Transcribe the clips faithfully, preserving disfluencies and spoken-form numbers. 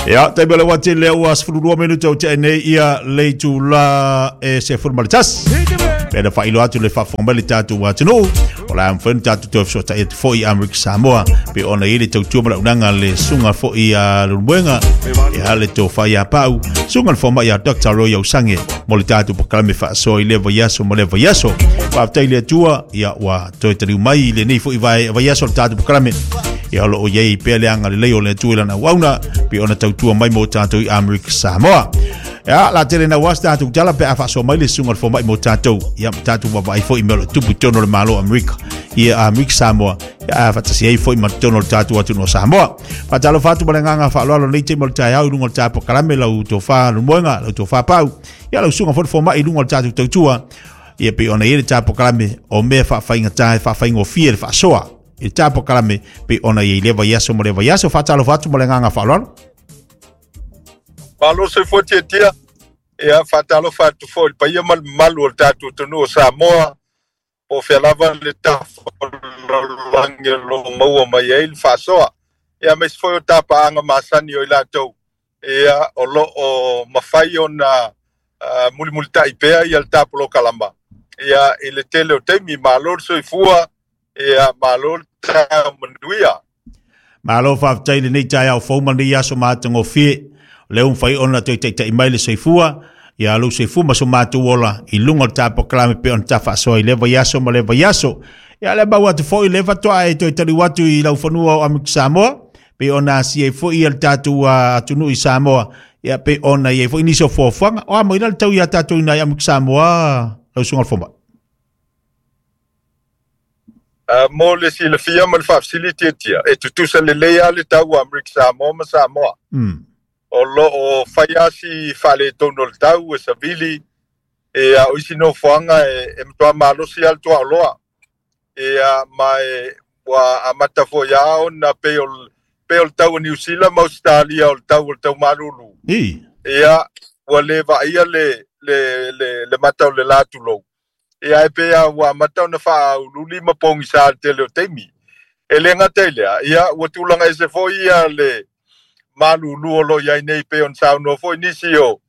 Ia, taimi o le wati lea ua sefululua minute o tea nei ia le itula e sefulu ma le tasi. Pena whailo atu le faafofoga mai le tatou atunuu. O la mafai ona tatou toe fesootai atu foi i Amerika Samoa. Pe ona i le tautua ma le auaunaga le susuga foi a Leulumoega. Ia le tofa ia Pau. Susuga le fomai ia Doctor Roy Ausange. Mo le tatou polokalame faasoa i le vaiaso ma le vaiaso. Faafetai le Atua, ia ua toe taliu mai i lenei foi vaiaso le tatou polokalame. Ia o loo iai pea le agalelei o le Atua i lana auauna, pe ona tautua mai mo tatou i Amerika Samoa. Ia, la tele na uas tatou tala pe a faasoa mai le susuga le fomai mo tatou. Ia, ma tatou vaavaai foi i mea o lo o tupu i totonu o le Malo o Amerika. Ia, Amerika Samoa. Ia, a faatasi ai foi ma totonu o le tatou atunuu o Samoa. Faatalofa atu ma le agaga faaaloalo nei taimi o le taeao i luga o le tatou polokalame lau tofa Leulumoega, lau tofa Pau. Ia, lau susuga foi le fomai i luga o le tatou tautua. Ia, pe ona i ai le tatou polokalame o mea faafaigata e faafaigofie le faasoa. I le tatou polokalame pe ona i ai le vaiaso ma le vaiaso. Faatalofa atu ma le agaga faaaloalo. Malo soifua tiatia. Ia faatalofa atu foi i le paia ma le mamalu o le tatou atunuu o Samoa. Po o fea lava le tafalalolagi o lo o maua mai ai le faasoa. Ia aemaise foi o tapaaga masani o i latou. Ia o lo o mafai ona uh, mulimulitai pea ia le tapolokalama. Ia i le tele o taimi, malo le soifua, ia malo le taeao manuia. Malo faafetai lenei taeao fou ma lenei aso matagofie. O lea ua mafai ona toe taitai mai le soifua, ia lou soifua ma so matou ola i luga o le tapolokalame pe ona tafaasoa i le vaiaso ma le vaiaso. Ia le mau atu foi le faatoa e toe taliu atu i lau fanua o Amerika Samoa, pe ona asia ai foi ia le tatou atunuu i Samoa, ia pe ona i ai foi nisi o fuafuaga. O a mai la le tau ia tatou i nai Amerika Samoa, lau susuga le fomai. Uh, mo le silafia ma le faafesili tiatia, e tutusa lelei lava le tau o Amerika Samoa ma Samoa. Mm. O lo o fai lava si faaletonu o le tau e savili, ia o isi nofoaga e, e matua malosi lava le tuaoloa. Ia ma e ua amata foi lava ona pei o pei o le tau o Niu Sila ma Ausetalia o le tau o le tau malulu. I. Ia ua le vaaia le, le, le, le mata o le la tulou. Ia e pei lava ua amata ona faauliuli ma pogisa le tele o taimi. E le gata i lea, ia ua tulaga ese foi ia le malulu o lo o iai nei pei ona saunoa foi nisi o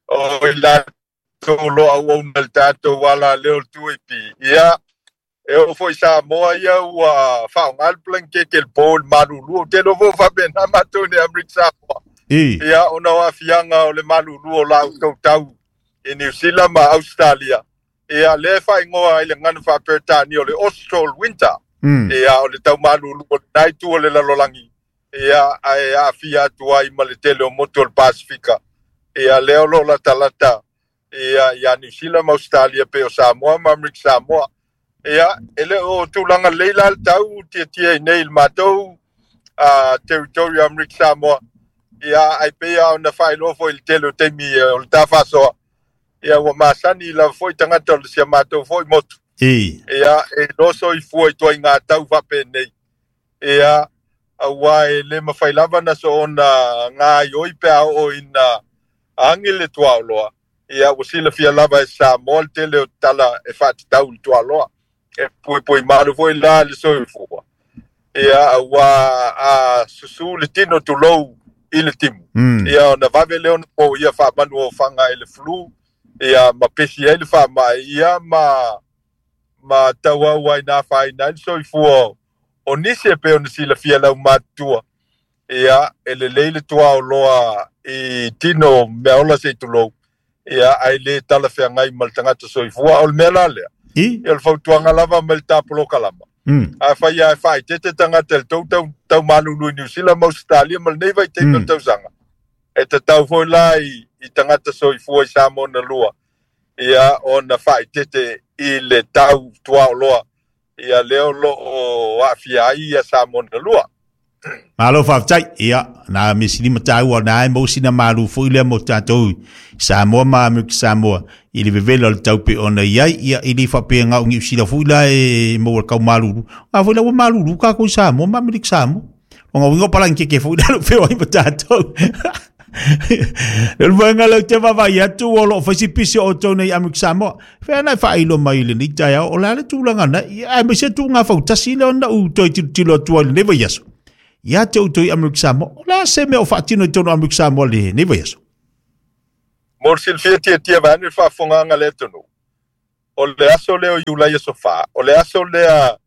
o i latou o lo o auauna i le tatou ala lea o le two A P. Ia e oo foi i Samoa ia ua faaaoga le blankete i le po i le malulu. Ou te iloa foi o faapena matou i Amerika Samoa. I. Ia ona o aafiaga o le malulu o la outou tau i Niu Sila ma Australia. Ia lea e faaigoa ai le gagana faaperetania o le Austral Winter. Mm. Ia o le tau malulu o lena itu o le lalolagi. Ia ae aafia atu ai ma le tele o motu o le Pasifika. Ia lea o lo o latalata ia ia Niu Sila ma Australia pei o Samoa ma Amerika Samoa. Ia e le o tulaga lelei la le tau tiatia i nei i le matou uh, territory o Amerika Samoa. Ia ai pei lava ona faailoa foi i le tele o taimi o le tafaasoa. Ia ua masani lava foi tagata o le sia matou foi motu. I. Ia e iloa soifua i ituaiga tau faapenei. Ia auā e le mafai lava na soona gaioi pe a oo ina agi le tuaoloa. Ia ua silafia lava e Samoa le tele o tala e faatatau i le tuaoloa. E puipui malu foi la le soifua. Ia auā a susū le tino tulou i le timu. Mm. Ia ona vave lea ona poia faamanu ofaga i le flu. Ia ma pesi ai le faamai. Ia ma ma tauau ai na afaina ai le soifua o nisi e pei ona silafia lau matutua. Ia e lelei le tuaoloa i tino meaola se i tulou. Ia ae le talafeagai ma le tagata soifua. O le mea la lea. I. Ia o le fautuaga lava mai le tapolokalama. Mm. Afai lava e faaeteete tagata i le tou tau, tau malulu i Niu Sila ma Ausetalia ma lenei vaitaimi o le Mm. tausaga. E tatau foi la i, i tagata soifua i Samoa na lua. Ia ona faaeteete i le tau tuaoloa. Ia lea o lo o aafia ai ia Samoa na lua. Malo faafetai. Ia, na mesili ma taua na ai mo sina malu foi lea mo tatou Samoa ma Amerika Samoa i le vevela o le tau pe ona i ai. Ia, i le faapea ngau Niu Sila foi la e maua le kau malulu. A foi la ua malulu kākou i Samoa ma Amerika Samoa. O ngā winga o palangi keke foi la lo feoai ma tatou. Le luanga lau te vaavaai atu o loo fai si pisi o outou nei Amerika Samoa. Fea na e faailoa mai i lenei taeao o le a le tulaga na. Ia, aemaise tuuga fautasi lea ona ou toe tilotilo atu ai i lenei vaiaso. Ia te outou i Amerika Samoa. O le a se mea o faatino i totonu o Amerika Samoa lenei vaiaso? Mo le silafia tiatia vaeane le faafofogaaga a le atunuu. O le aso lea o Iulai aso fa, o le aso lea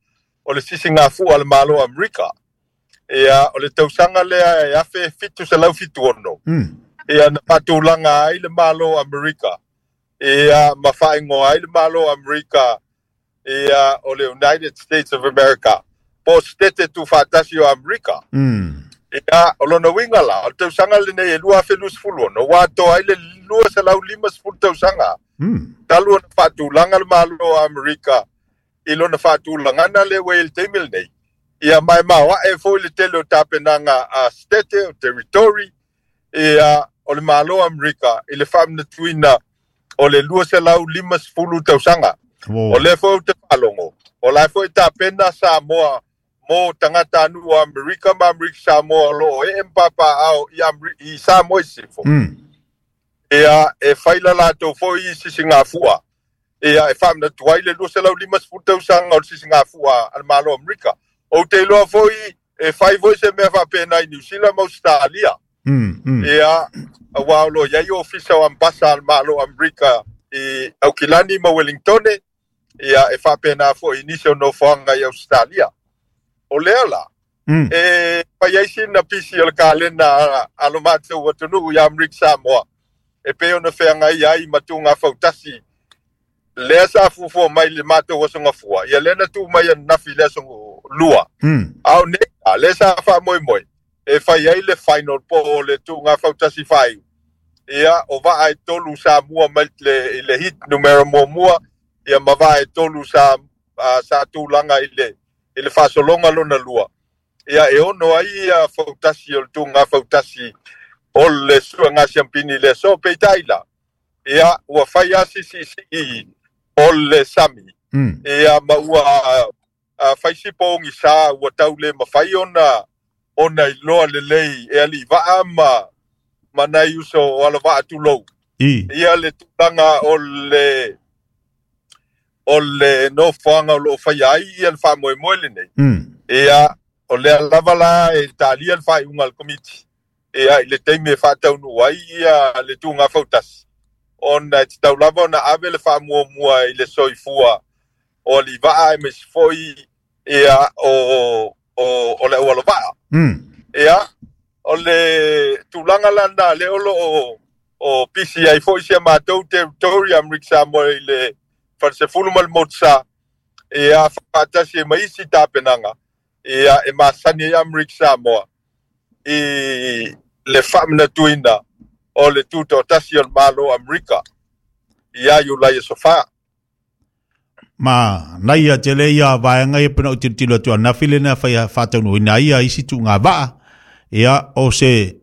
o le sisigafua a le Malo o Amerika. Ia, o le tausaga lea e afe fitu selau fitu ono. Mm. Ia, na faatulaga ai le Malo o Amerika. Ia, ma faaigoa ai le Malo o Amerika. Ia, o le United States of America. Po o Setete Tuufaatasi o Amerika. Mm. Ia, o lona uiga la, o le tausaga lenei e lua afe luasefulu ono, ua atoa ai le lua selau limasefulu tausaga. Mm. Talu ona faatulaga le Malo o Amerika i lona faatulagana lea ua i ai le taimi lenei. Ia, ma e maoae foi le tele o tapenaga a Setete, o Territory, ia, o le Malo o Amerika i le faamanatuina o le lua selau limasefulu tausaga. Wow. O lea foi ou te faalogo, o la e foi tapena Samoa mo tagata anu o Amerika ma Amerika Samoa o loo ee ma papaao i, Ameri- i Samoa i sisifo. Mm. Ia, e fai la latou foi i sisigafua. Ia, e faamanatu ai le lua selau limasefulu tausaga o le sisigafua a le Malo o Amerika. Ou te iloa foi e fai foi se mea faapena i Niu Sila ma Australia. Mm, mm. Ia, auā o lo i ai ofisa o ambasa a le Malo o Amerika i Aukilani ma Wellingtone. Ia, e faapena foi i nisi o nofoaga i Australia. O lea la, Mm. e fai ai sina pisi o le kalena a, a lo matou atunuu i Amerika Samoa. E pei ona feagai ai ma tuga fautasi. Lea sa fuafua mai le matou aso gafua. Ia lea na tuu mai ananafi i le aso lua. Mm. A o nei, a lea sa faamoemoe. E fai ai le final po o le tuga fautasi faaiu. Ia, o vaa e tolu sa mua mai le, i le hit numera muamua. Ia ma vaa e tolu sa, a, sa tulaga i le, i le faasologa lona lua. Ia, e ono ai ia fautasi o le tuga fautasi o le suega siampini le aso peitai la. Ia, ua fai a sisiisii o le sami. Mm. Ia, ma ua, a, fai si pogisa ua tau le mafai ona, ona iloa lelei e alii vaa ma, ma nai uso o alavaa tulou. I. Ia le tulaga o le, o le nofoaga o loo faia ai ia le faamoemoe lenei. Mm. Ia, o lea lava la e talia le faaiuga a le komiti. Ia, i le taimi e faataunuu ai ia le tuga fautasi. Ona e tatau lava ona ave le faamuamua i le soifua o alii vaa aemaise foi ia o, o, o le aualavaa. Mm. Ia, o le tulaga lana lea o loo o pisi ai foi si a matou territory Amerika Samoa i le falesefulu ma le motusa. Ia, faatasi e ma isi tapenaga. Ia, e masani ai Amerika Samoa i le faamanatuina o le tutoatasi o le Malo o Amerika ia Iulai aso fa. Ma nai ia tele ia vaega ia pena o tilotilo atu ananafi lena fai faataunuuina ai ia isi tuuga vaa. Ia, o se,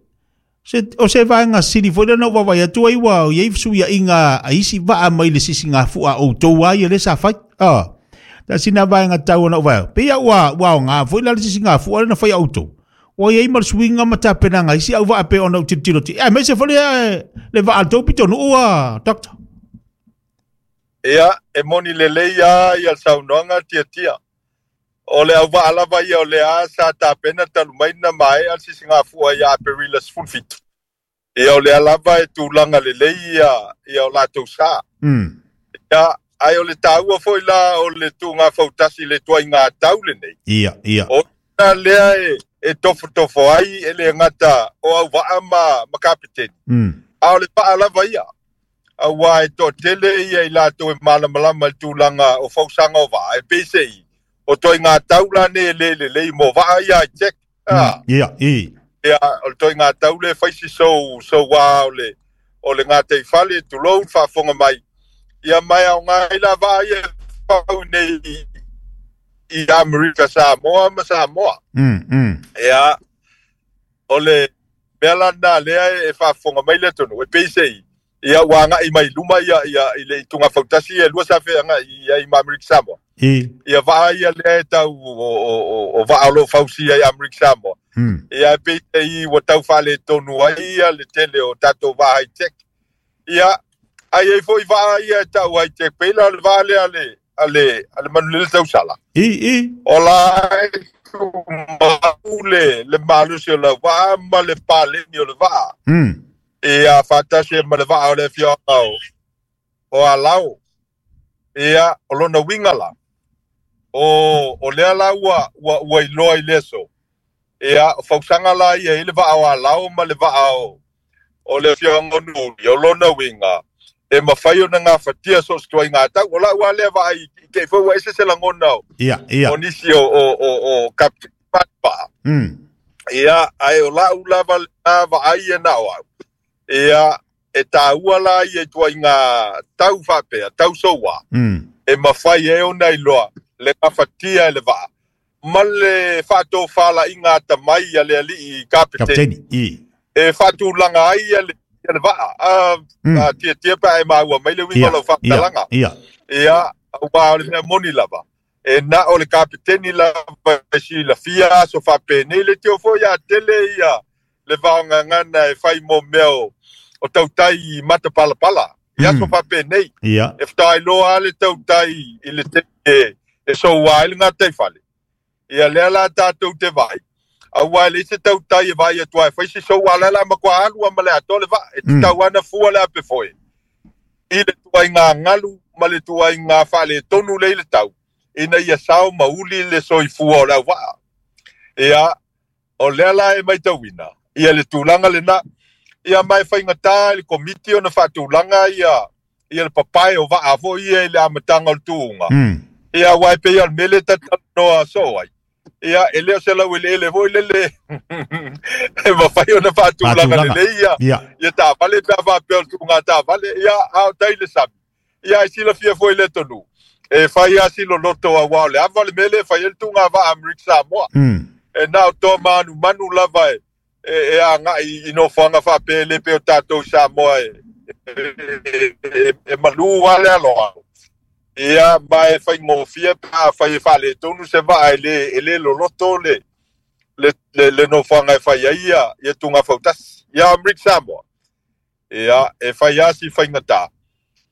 se, o se vaega sili foi lena ua vaavaai atu ai ua iai fesuiaiga a isi vaa mai le sisigafua a outou a ia le sa fai. Ah, tasina vaega tau ona o vaea. Pe ia ua, ua aoga foi la le sisigafua lena fai a outou. Ua iai ma le suiga ma tapenaga isi au vaa pe ona o tilotilo atu. Ia, aemaise foi le, le vaa a le tou pitonuu a, Doctor. Ia, e moni lelei a ia le saunoaga tiatia. O le auvaa lava ia o lea sa tapena talu mai na maea le sisigafua ia Aperila sefulu fitu. Ia, o lea lava e tulaga lelei ia, ia o latou sa. Mm. Ia, ai o le taua foi la o le tuga fautasi le tuaiga tau lenei. Ia, ia. O na lea e, e tofotofo ai e le gata o auvaa ma, ma kapiteni. Mm. A o le vaa lava ia. Auā e toatele ia i latou e malamalama i le tulaga o fausaga o vaa. E peisei, o toaiga tau la nei e le lelei mo vaa ia i tech. Ah. Mm. Ia, i. Ia, o le toaiga tau le fai si sou, sou wā o le, o le gataifale, tulou, le faafofoga mai. Ia, mai aoga ai la vaa ia fau nei i, i Amerika Samoa ma Samoa. Mm, mm. Ia, o le mea lana lea e faafofoga mai le atunuu, e peisei. Ia, ua agai mai luma ia, ia, i le ituga fautasi e lua sa feagai ai ma Amerika Samoa. I. Ia, vaa ia lea e tau o, o, o, o vaa o loo fausia i Amerika Samoa. Mm. Ia, e peisei ua tau faaletonu ai ia le tele o tatou vaa high tech. Ia, ai ai foi vaa ia e tau high tech pei la o le vaa lea a le, a le, a le Manulele Tausala. I, i. O la tumau le le malosi o le va'a ma le paleni o le va'a. Mm. Ia faatasi ma le va'a o le afioaga o o Alao. Ia o lona uiga la o o lea la ua ua ua iloa i le aso. Ia o fausaga la ia i le va'a o Alao ma le va'a o o le afioaga o Nuli. O lona uiga e mafai ona gafatia so o se tuaiga tau. O la'u a lea vaai i te i foi ua ese se lagona o Ia, ia. o nisi o o o o kapiteni va'a. Mm. Ia ae o la'u lava lena vaai e na o au. Ia e tāua la ia i tuaiga tau faapea tau soua. Mm. E mafai ai ona iloa le gafatia e le va'a ma le faatofalaiga atamai a le ali'i kapiteni. Kapiteni. I. E faatulaga ai ia le ia le va'a. A Mm. a tiatia pe a e maua mai le uiga Ia, o lau ia, faamatalaga. ia. Ia auā o le mea moni lava. E na o le kapiteni lava e silafia aso faapenei le tio foi ia tele ia le vaogagana e fai mo mea o o tautai i matapalapala. I aso Mm. faapenei. Ia. E fetaailoa a le tautai i le taimi e e soua ai le gataifale. Ia lea la tatou te vaai. Auā e leai se tautai e vaai atu ai e fai se soua la la matua alu a ma le atoa le va'a. E Mm. tatau ana fua le apefoe. I le tuaiga galu ma le tuaiga faaletonu lea i le tau. Ina ia sao ma uli le soifua o le auva'a. Ia o lea la e maitauina. Ia le tulaga lena. Ia ma e faigatā i le komiti ona faatulaga ia ia le papae o va'a foi ia i le amataga o le tuuga. Mm. Ia auā e pei o le mea lea tatalanoa soo ai. Ia e le o se laueleele foi lele e mafai ona faatulaga Faatulaga. lelei ia Ia. ia taavale pe a faapea o le tuuga taavale. Ia a o tai le sami. Ia e silafia foi le tonu. E fai a siloloto auā o le ava le mea lea e fai ai le tuuga va'a Amerika Samoa. Mm. E na o toa manumanu lava e e, e aga'i i nofoaga faapea e le pei o tatou i Samoa e e, e, e malū a le aloalo. Ia ma e faigofie pe a fai e faaletonu se va'a e lē e lē loloto le le le, le nofoaga e fai ai ia ia tuga fautasi. Ia Amerika Samoa. Ia e fai a si faigatā.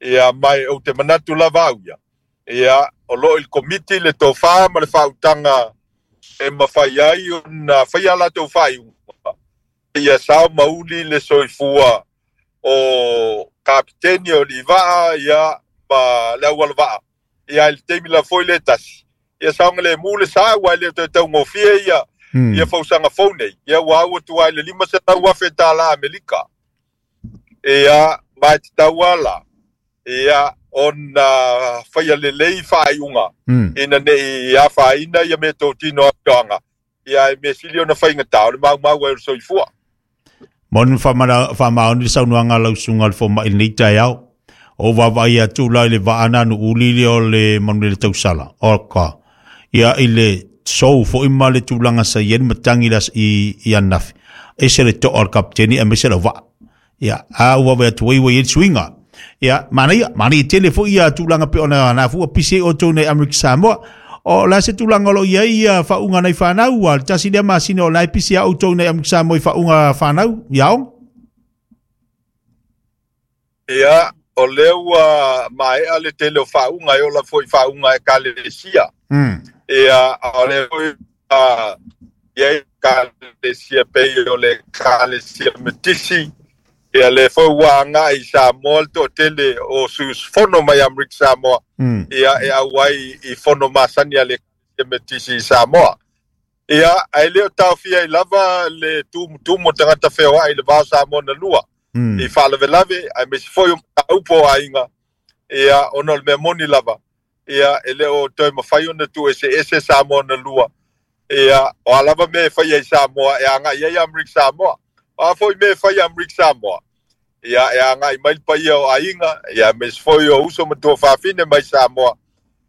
Ia mai ou te manatu lava au ia. Ia o loo i le komiti le tofā ma le faautaga e mafai ai ona faia latou faaiuga. Ia sao mauli le soifua o kapiteni o liva'a ia ma le auala va'a. Ia i le taimi la foi le tasi. Ia saogalemu le sa ua e le o toe taugofie ia Mm. ia fausaga fou nei. Ia ua au atu ai le lima selau afe tālā Amerika. Ia ma e tatau ala. Ia ona faia lelei faaiuga. Mm. Ina ne'i afaina ia mea totino afioaga. Ia e mea sili ona faigatā o le maumau ai o le soifua. Moni whamana whamaoni le saunoaga lau susuga le foma'i lenei taeao. O vaavaai atu la i le vaana nu uli le o le manu le tausala. O ka. Ia i le sou fo'i ma le tulaga sa i ai le matagi i i, i anafi. Ese le to'a o le kapiteni aemaise lau va'a. Ia, a ua vaai atu ai ua i ai le suiga. Ia, manaia, manaia tele fo'i ia tulaga pe ona na fua pisi ai outou nei Amerika Samoa. O la se tulaga o lo o i ai ia faauga nai fanau, a le tasi lea masina o la e pisi a outou nei Amerika Samoa i faauga fanau, ia o? Ia o lea ua maea le tele o faauga e ola foi faauga e kalesia. Mm. Ia o lea foi a ia i kalesia pei o le kalesia metisi. Ia le foi ua aga'i i Samoa le to'atele o suusufono mai Amerika Samoa. Mm. Ia e auai i fono masani a le kalesia metisi i Samoa. Ia ae le o taofia ai lava le tumutumu o tagata feoa'i i le vao Samoa na lua. Mm. I faalavelave aemaise foi o mataupu o aiga. Ia ona o le mea moni lava. Ia e le o toe mafai ona tuueseese Samoa na lua. Ia o a lava mea e faia i Samoa e aga'i ai Amerika Samoa. O a foi mea e faia Amerika Samoa. Ia e aga'i mai le paia o aiga, ia aemaise foi o uso ma tuafafine mai Samoa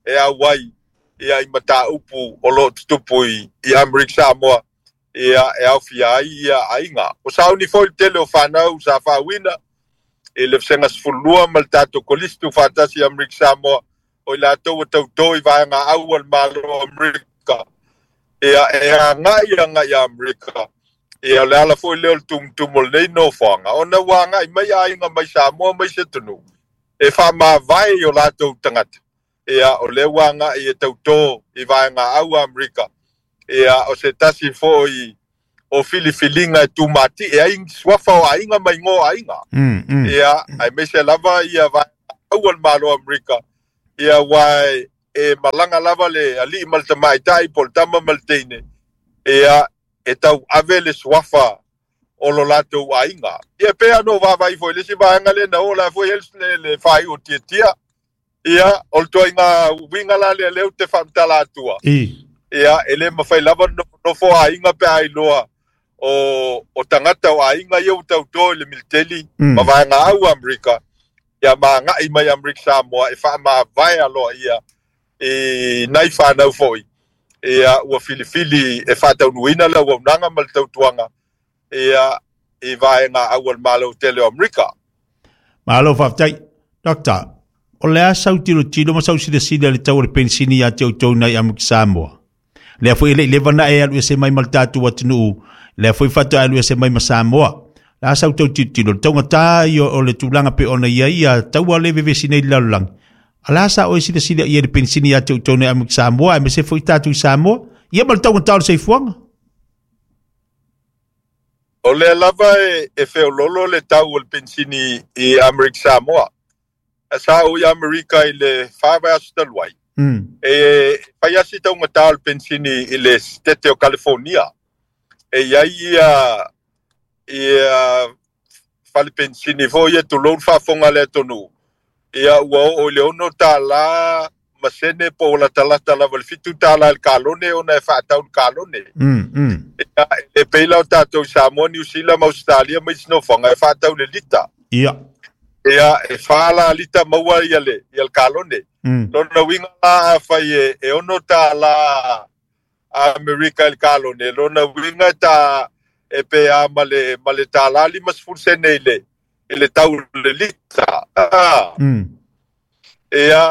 e auai ia i mataupu o loo tutupu i, i Amerika Samoa. Ia e aofia ai ia aiga. O sauni foi le tele o fanau sa faauina i le vasega sefululua ma le tatou kolisi tuufaatasi i Amerika Samoa. O i latou ua tautō i vaega au a le Malo o Amerika. Ia e aga'i aga'i Amerika. Ia o le ala foi lea o le tumutumu o lenei nofoaga. Ona ua aga'i mai aiga mai Samoa mai se atunuu. E faamavae i o latou tagata. Ia o lea ua aga'i e tautō i vaega au a Amerika. Ia o se tasi fo'i o filifiliga e tumati'e ai suafa o aiga ma igoa o aiga. Mm, mm. Ia aemaise lava ia vaeaua le Malo o Amerika. Ia uā e malaga lava le ali'i ma le tamaita'i po o le tama ma le teine. Ia e tauave le suafa o lo latou aiga. Ia pe ano vaavaai foi le isi vaega lea na oo la foi ai le, le faai'u o tiatia. Ia o le toaiga uiga la lea lea ou te faamatala atua. I. Ia e lē mafai lava nofonofo aiga pe a iloa o o tagata o aiga ia ua tautō i le militeli Mm. ma vaega au Amerika. Ia maga'i mai Amerika Samoa e faamavae aloa ia i nai fanau fo'i. Ia ua filifili e faataunuuina le auaunaga ma le tautuaga ia i vaega au a le Malo tele o Amerika. Malo faafetai. Doctor, o le a sau tilotilo ma sau silasila i le tau o le penisini ia te outou nai Amerika Samoa? Lea foi e le'i leva na e alu ese mai ma le tatou atunuu, lea foi faatoa alu ese mai ma Samoa. La sau tau tilotilo, le taugatā ia o le tulaga pe ona ia ia taua le vevesi nei i le lalolagi. A la sa oe silasila i ai le penisini ia te outou nei Amerika Samoa, aemaise foi tatou i Samoa, ia ma le taugatā o le soifuaga? O lea lava e, e feololo le tau o le penisini i Amerika Samoa. Sa ou i Amerika i le fa vaiaso talu ai. Mm. E fai asi taugatā o le penisini i le setete o California. E iai ia ia fale penisini foi ia tulou le faafofoga a le atunuu. Ia ua oo i le ono tālā ma sene po o latalata lava i le fitu tālā i le kalone ona e faatau le kalone. Mm, mm. Ia e le pei la o tatou i Samoa, Niu Sila ma Ausetalia ma isi nofoaga e faatau le lita. Ia. Ia e whā la lita maua ia le, ia le kalone. Mm. Lona uiga la afai e, e ono tālā Amerika i le kalone. Lona uiga ta e pe a ma le, ma le tālā lima sefulu sene i le, i le tau le lita. Ah. Mm. Ia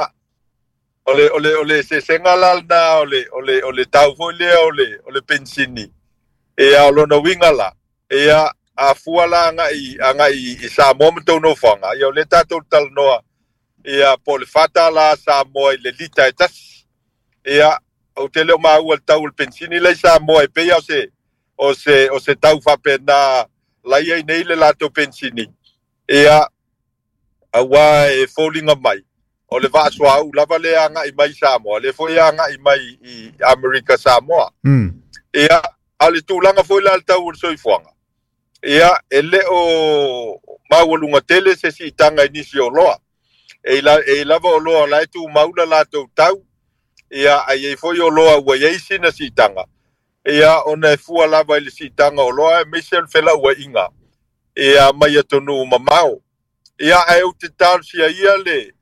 o le, o le, o le eseesega la lena o le, o le, o le tau foi lea o le, o le penisini. Ia o lona uiga la. Ia a fua la aga'i aga'i i Samoa ma tou nofoaga. Ia o lea tatou talanoa ia po o le fa tālā Samoa i le lita e tasi. Ia ou te le o maua le tau o le penisini lai Samoa e pei o se o se o se tau faapena lai ai nei le latou penisini. Ia auā e foliga mai o le vaasoaʻu lava lea aga'i mai Samoa lea foi aga'i mai i Amerika Samoa. Mm. Ia a o le tulaga foi la le tau o le soifuaga. Ia e lē o maualuga tele se siitaga i nisi o loa. E la, e lava o loa la e tumau la latou tau. Ia ai ai foi o loa ua iai sina siitaga. Ia ona e fua lava i le siitaga o loa aemaise o le felauaiga. Ia mai atunuu mamao. Ia ae ou te talosia ia le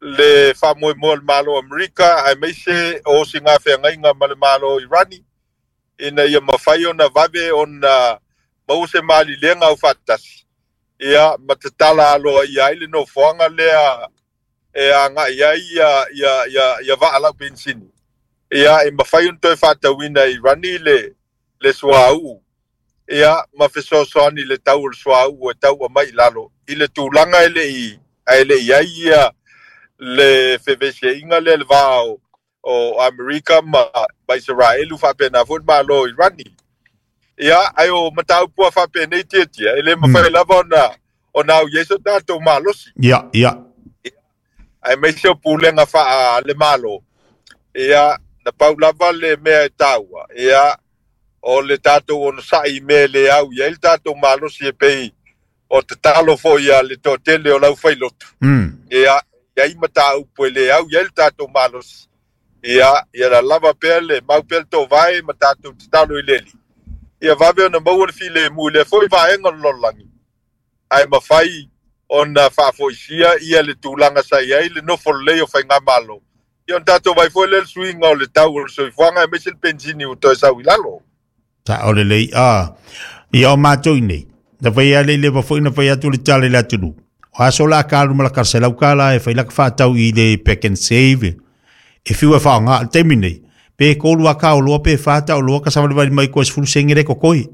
le faamoemoe o le Malo o Amerika aemaise o osigafeagaiga ma le Malo o Irani ina ia mafai ona vave ona maua se malilega au faatasi. Ia ma tatala aloa ia ai le nofoaga lea e aga'i ai ia ia ia ia vaa lau penisini. Ia e mafai ona toe faatauina i Irani le le suauu. Ia ma fesoasoani le tau o le suauu e tau mai i lalo i le tulaga e le'i ae le'i ai ia le fevesiaiga lea le va o o Amerika ma ma Isaraelu faapena foi le Malo o Irani. Ia ae o mataupu a faapenei tiatia e lē mafai Mm. lava ona ona au i ai so tatou malosi. Ia, ia. Aemaise o pulega faa le Malo. Ia na pau lava le mea e taua. Ia o le tatou onosa'i i mea e lē au i ai le tatou malosi e pei o tatalo foi a le toatele o lau failotu. Mm. Ia iai mataupu e lē au i ai le tatou malosi. Ia ia la lava pea le mau pea le tovae ma tatou tatalo i le Alii. Ia vave ona maua le filemu i lea foi vaega o le lalolagi. Ae mafai ona faafoisia ia le tulaga sa i ai le nofo lelei o faigamalo. Ia ona tatou vaai foi lea le suiga o le tau o le soifuaga aemaise le penisini ua toe sau i lalo. Sa o le lei a. Ia o matou i nei. Na fai a le leva foi na fai atu le tala i le atunuu. O aso la ka alu ma la kaselau ka la e fai la ka faatau i le Pack and Save. E fiu e whaonga le taimi nei. Pe kolu a ka o loa pe whata o loa ka savalivali mai koe sefulu senge le kokoi.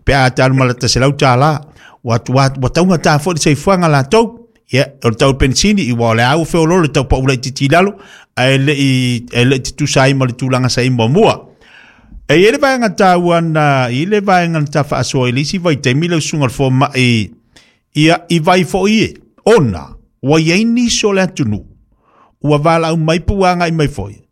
Pe a te alu ma la taselau tālā. Ua, ua, ua taunga tā foi le soifuaga latou. Ia, o le tau penisini, i ua o le au feololo le tau paula i titi lalo, ae le i, e le i tutusa ai ma le tulaga sa i muamua. E i le vaega taua na i le vaega na tafaasoa i le isi vaitaimi le usuga le fomaʻi ia i vai foʻi e ona ua iai nisi o le atunuu ua valaau mai po ua agai mai foi.